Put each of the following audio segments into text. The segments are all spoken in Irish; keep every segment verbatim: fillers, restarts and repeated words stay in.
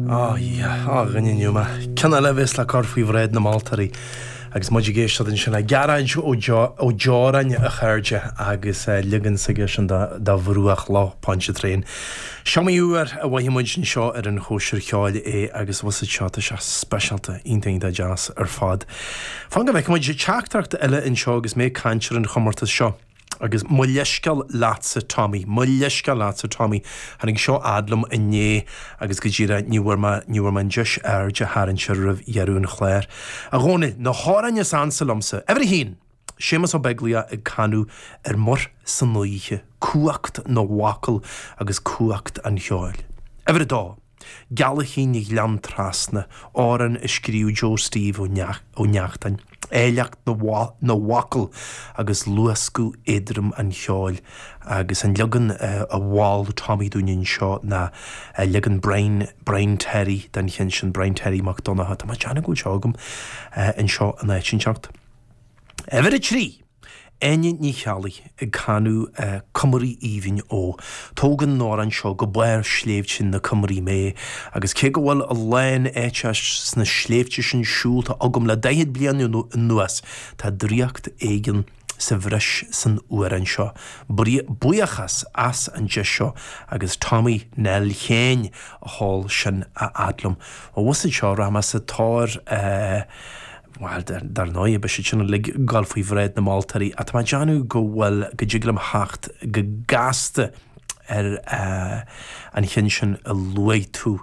Á a dhuine inniu mé. Ceann eile a bheas le cur faoi bhráid na moltóirí agus muid ag éisteacht ansin le Gearóid Ó Deoráin a chairde agus leagan s'aige sin de Bhruach Loch Pontchartrain. Is iomaí uair a mhaífidh muid anseo ar an Chóisir Cheoil é agus bhus seo tá sé speisialta iontach iontach deas ar fad. Fan go bhfeicfidh muid teachtaireacht eile anseo agus mé ag caint ar an chomórtas seo. Agus mo leithscéal leatsa Tommy, mo leithscéal leatsa Tommy, tháinig seo fhad liom inné agus go díreach ní bhfuair mé ní bhfuair mé an deis aird a tharraingt air roimh dheireadh an chláir. A Dhónaill, na hamhráin is ansa liomsa, uimhir a haon, Séamus Ó Beaglaoich ag canadh ar muir san oíche, cumhacht na bhfocal agus cumhacht an cheoil. Uimhir a dó, Gealaichín Ghleann Trasna, amhrán a scríobh Joe Steve Ó Neachtain, áilleacht na bhfocal agus luascadh éadrom an cheoil agus an leagan a mhol Tommy dúinn anseo ná leagan Brian, Brian Terry den cheann sin, Brian Terry Mac Donncha. Tá mé ag déanamh go bhfuil seo agam anseo in áit inteacht. Uimhir a trí! Áine Ní Cheallaigh ag canadh Cumraí Aoibhinn Ó. Tógann an t-amhrán seo go barr sléibhte na Cumraí mé agus cé go bhfuil a lán áite sna sléibhte sin siúlta agam le daichead bliain anuas, tá draíocht éigin sa bhreis san amhrán seo. Buíochas as an deis seo agus Tommy Nell Sheáin a sheol sin a fhad liom. Ó bhus seo rachaidh mé sa tóir Bhuel, dar ndóigh, beidh siad sin uilig ag dul faoi bhráid na moltóirí, ach tá mé ag déanamh go bhfuil, go dtig liom theacht go gasta ar an cheann sin a luaigh tú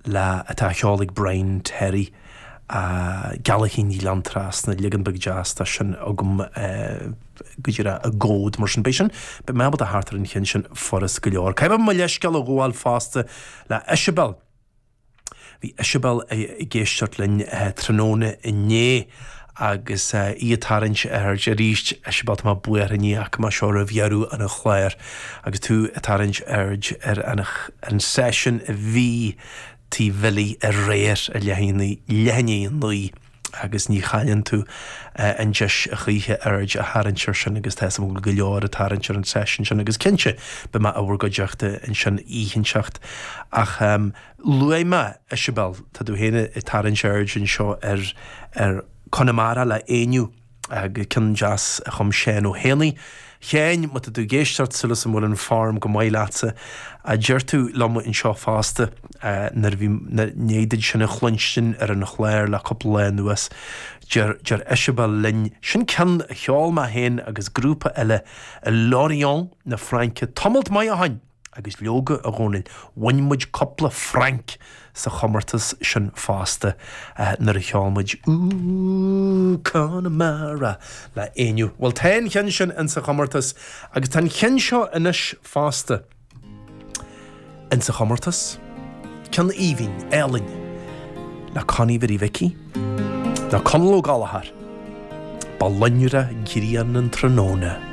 le, atá á cheol ag Brian Terry, Gealaichín Ghleann Trasna, leagan beag deas de sin agam go díreach i gcomhad mar sin. Beidh sin, beidh mé ábalta theacht ar an cheann sin furast go leor. Caithfidh mé mo leithscéal a ghabháil fosta le Isabel. Bhí Isabel ag éisteacht linn tráthnóna inné agus í ag tarraingt aird arís, Isabel, tá mé buartha ní fhaca mé seo roimh dheireadh an chláir agus tú ag tarraingt aird ar an seisiún a bhí Tigh Bhilly aréir ar leath i ndiaidh a naoi agus ní chailleann tú an deis a choíche aird a tharraingt air sin agus tá a fhios agam go bhfuil go leor ag tarraingt ar an seisiún sin agus cinnte beidh mé i bhur gcuideachta ansin oíche inteacht ach luaigh mé Isabel, tá tú féin ag tarraingt aird anseo ar ar Conamara le Éinniú agus ceann deas a chum Seán Ó hÉanaí. Sheáin, má tá tú ag éisteacht, súil agam go bhfuil an form go maith leatsa. A deir tú liom anseo fosta nuair a bhí, i ndiaidh duit sin a chluinstin ar an chlár le cúpla lá anuas, deir, deir Isabel linn, sin ceann a cheol mé féin agus grúpa eile i Lorient na Fraince tamalt maith ó shin! Agus leoga, a Dhónaill, bhain muid cúpla franc sa chomórtas sin fosta nuair a cheol muid Ooh, Conamara le Éinniú. Bhuel, tá an cheann sin insa chomórtas agus tá an cheann seo anois fosta insa chomórtas. Ceann aoibhinn, álainn le Connie Mhary Mhicí, nó Conall Ó Gallchóir. Ba lonra grian an tráthnóna.